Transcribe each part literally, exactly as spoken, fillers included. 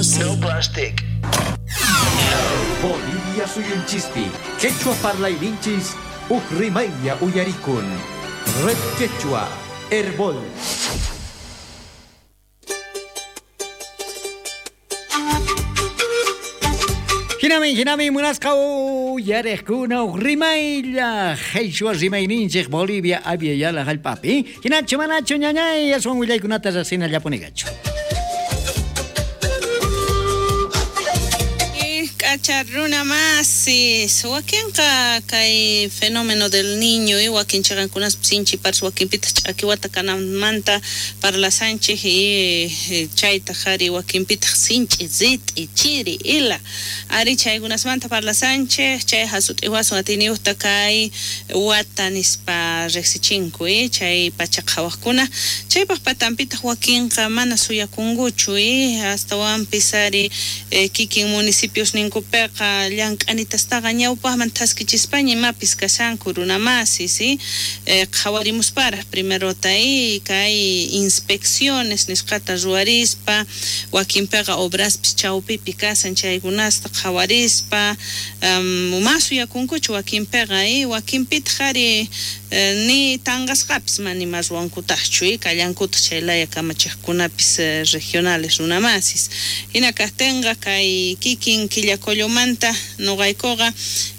doce. No plastic. Bolivia suyunchispi, Quechua parlayninchis, uj rimaylla uyarikun. Red Quechua, Herbol. Hinami, hinami, munasqa uyariqkuna uj rimaylla, Quechua rimayninchik Bolivia Abya Yala hallp'api. Hinachu manachu ñañay, aswan willaykunata riqsinallapuniqachu. K'acha runa masis, wakinqa kay fenómeno del niño y wakin chaqankunaspi sinchi paras wakinpitaq ch'akiwata kananmanta parlasanchik y chaytaq ari wakinpitaq sinch'i rit'i chiri ila ari chaykunasmanta parlasanchik chay hasut'iwasun atiyniyuqta kay wata nispa riqsichinku y chay pacha qhawaqkuna chaypaq patanpitaq wakinqa mana suyakunkuchu y astawanpis ari kikin municipios ninku peqa llank'anitastaqa ñawpaqman thaskichispaña imapis kashanku runa masis y qhawarimusparaq primerota y kay inspecciones nisqata ruwarispa wakinpiqa obraspis chawpipi kasan chaykunasta qhawarispa ma suyakunkuchu wakinpiqa y wakinpitaq ari ni tanqasqapis mana ima ruwankutaqchu y kallankutaq chay laya kamachiqkunapis regionales runa masis hina kaqtinqa kay kikin Quillacollomanta nuqaykuqa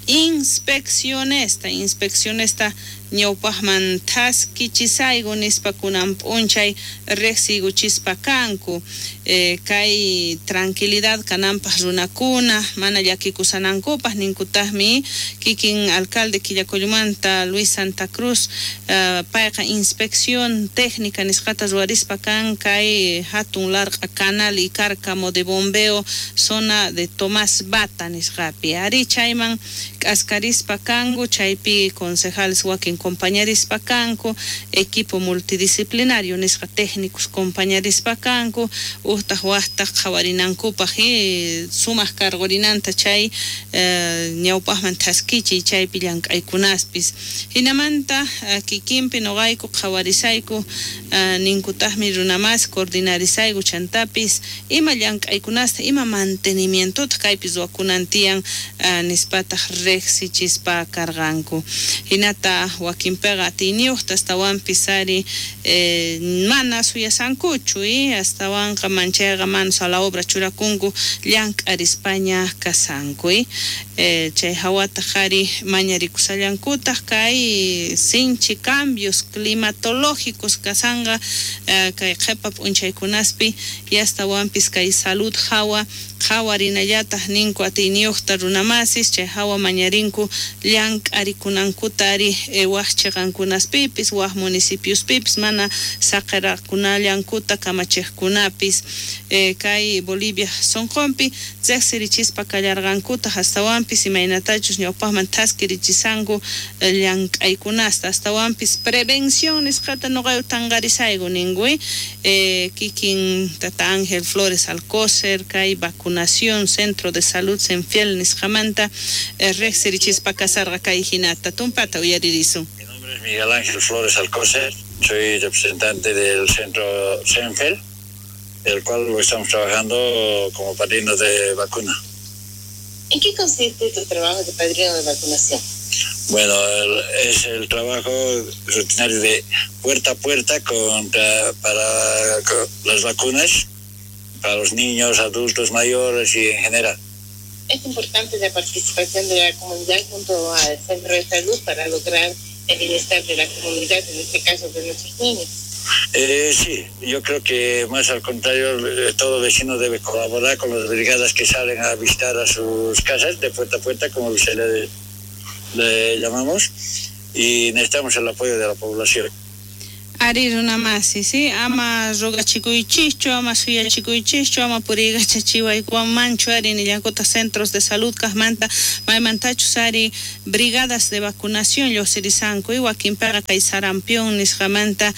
inspeccionesta inspeccionesta ñawpaqman thaskichisayku nispa kunan p'unchay riqsiykuchispa kanku eh, kay tranquilidad kananpaq runakuna mana llakikusanankupaq ninkutaqmi kikin alcalde Quillacollomanta Luis Santa Cruz uh, payqa inspección técnica nisqata ruwarispa kan kay hatun larq'a canal y cárcamo de bombeo zona de Tomás Bata nisqapi ari chayman k'askarispa kanku chaypi concejales wakin compañerispa kanku equipo multidisciplinario nisqa técnicos compañerispa kanku uhtaq waqtaq qhawarinankupaq y sumaq cargorinanta chay eh, ñawpaqman thaskichiy chaypi llank'aykunaspis hinamanta kikinpi nuqayku qhawarisayku uh, ninkutaqmi runamas coordinarisayku chantapis ima llank'aykunasta ima mantenimientota kaypi ruwakunan tiyan uh, nispataq riqsichispa karqanku hinata wakinpiqa atiyniyuqta astawanpis ari eh, mana suyasankuchu y astawanqa manchayqa manos a la obra churakunku llank'arispaña kasanku y eh, chay hawataq ari mañarikusallankutaq kay sinchi cambios climatológicos kasanqa eh, kay qhipa p'unchaykunaspi y astawanpis kay salud hawa qhawarinallataq ninku atiyniyuqta runamasis chay hawa mañarinku llank'arikunankuta ari eh, waq chiqankunaspipis waq municipiospipis mana saqirakunallankuta kamachiqkunapis eh, kay Bolivia sunqunpi riqsirichispa kallarqankutaq astawanpis imaynatachus ñawpaqman thaskirichisanku llank'aykunasta astawanpis prevención nisqata nuqayku tanqarisayku ninku eh, kikin tata Ángel Flores Alcócer kay vacunación Centro de Salud Senfiel nisqamanta eh, riqsirichispa kasarqa kay hinata tumpata uyaririsun. Mi nombre es Miguel Ángel Flores Alcócer, soy representante del Centro Senfiel, el cual lo estamos trabajando como padrino de vacuna. ¿En qué consiste tu trabajo de padrino de vacunación? Bueno, el, es el trabajo rutinario de puerta a puerta contra, para con las vacunas, para los niños, adultos mayores y en general. Es importante la participación de la comunidad junto al centro de salud para lograr el bienestar de la comunidad, en este caso de nuestros niños. Eh, sí, yo creo que más al contrario, todo vecino debe colaborar con las brigadas que salen a visitar a sus casas de puerta a puerta, como se le, le llamamos, y necesitamos el apoyo de la población. Ari runa masi, sí, ama rogachikuychischu, ama suyachikuychischu, ama puriykachachiwaykuwanmanchu ari nillankutaq centros de salud kaqmanta maymantachus ari brigadas de vacunación lluqsirisanku y wakinpiqa kay sarampión nisqamanta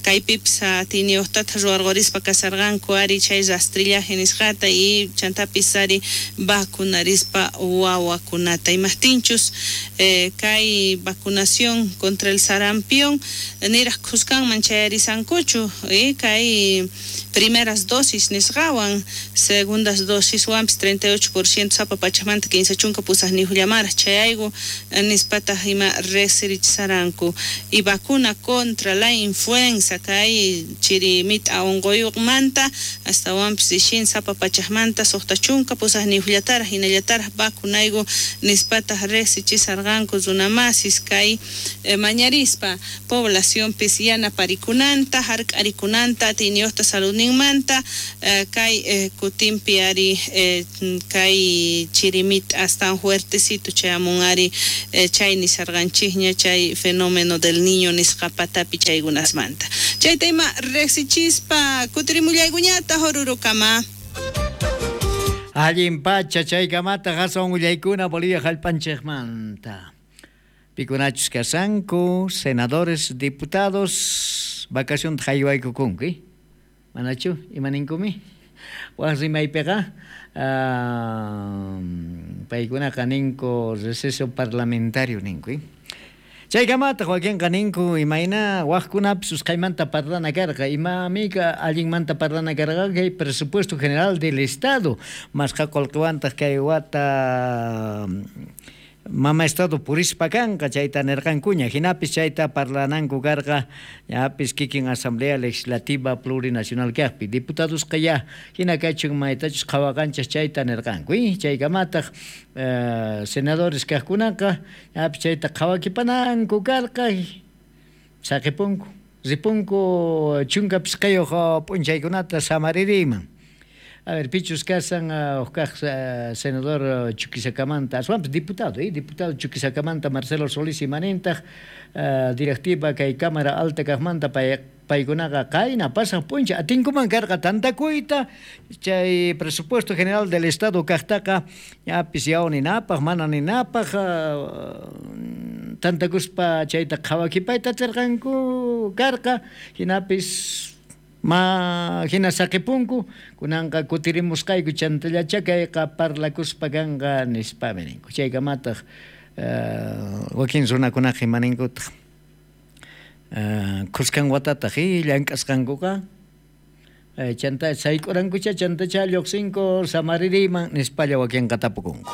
Kaypipis atiyniyuqtata ruwarqurispa kasarqanku ari chay rastrillaje nisqata y chantapis ari vacunarispa wawakunata. Imajtinchus eh, kay vacunación contra el sarampión niraj khuskanman chayarisankuchu eh, kay primeras dosis nisqawan segundas dosiswanpis treinta y ocho por ciento sapa pachajmanta kinsa chunka pusajniyuqllamaraj chayayku nispataq ima riqsirichisaranku. Y vacuna contra la influenza kay chirimita unquyuqmanta astawanpis ishin sapa pachajmanta suqta chunka pusajniyuqllataraj hinallataraj vacunayku nispataq riqsichisarqanku runamasis kay eh, mañarispa poblacionpis yanaparikunanta hark'arikunanta atiyniyuqta saludninmanta eh, kay eh, kutinpi ari eh, kay chirimita astawan fuertecito chayamun ari eh, chay nisarqanchikña chay fenómeno del niño nisqa patapi chaykunasmanta. Chayta ima riqsichispa kutirimullaykuñata Orurokama. Allin pacha chaykamata aswan willaykuna Bolivia jallp'anchikmanta. Pikunachus kasanku, senadores, diputados, vacación haywaykukunku, manachu imaninkumi? Waj rimaypiqa uh, paykunaqa ninku receso parlamentario ninku. Chaykamataq wakinqa ninku imayna wajkunapis usqhaymanta parlana karqa, imamika allinmanta parlana karqa kay presupuesto general del Estado, masqa qullqiwantaq kay wata mama Estado purispa kanqa chayta nirqankuña, hinapis chayta parlananku karqa ñapis kikin Asamblea Legislativa Plurinacional kaqpi diputadosqa ya hina kachun maytachus qhawaqanchis chayta nirqanku. Chaykamataq eh, senadores kaqkunaqa ñapis chayta qhawakipananku karqa saqipunku ripunku chunka pisqayuq p'unchaykunata samaririyman. A ver, pichus kasan uh, uh, senador uh, Chuquisakamanta, aswanpis diputado, eh, diputado Chuquisakamanta Marcelo Solís imanintaq uh, directiva kay Cámara Alta kaqmanta pay paykunaqa qayna pasaq p'unchay atinkuman karqa tantakuyta chay presupuesto general del Estado kaqtaqa ñapis yaw ninapaq mana ninapaq uh, tantakuspa chayta qhawakipayta atirqanku karqa hinapis ma hina saqipunku kunanqa kutirimusqayku chantallacha kayqa parlakuspa kanqa nispami ninku. Chaykamataq uh, wakin runakunaqa imaninkutaq uh, khuskan watataq llank'asqankuqa uh, chanta sayk'urankucha chantacha lluqsinku samaririyman nispalla wakinqa tapukunku.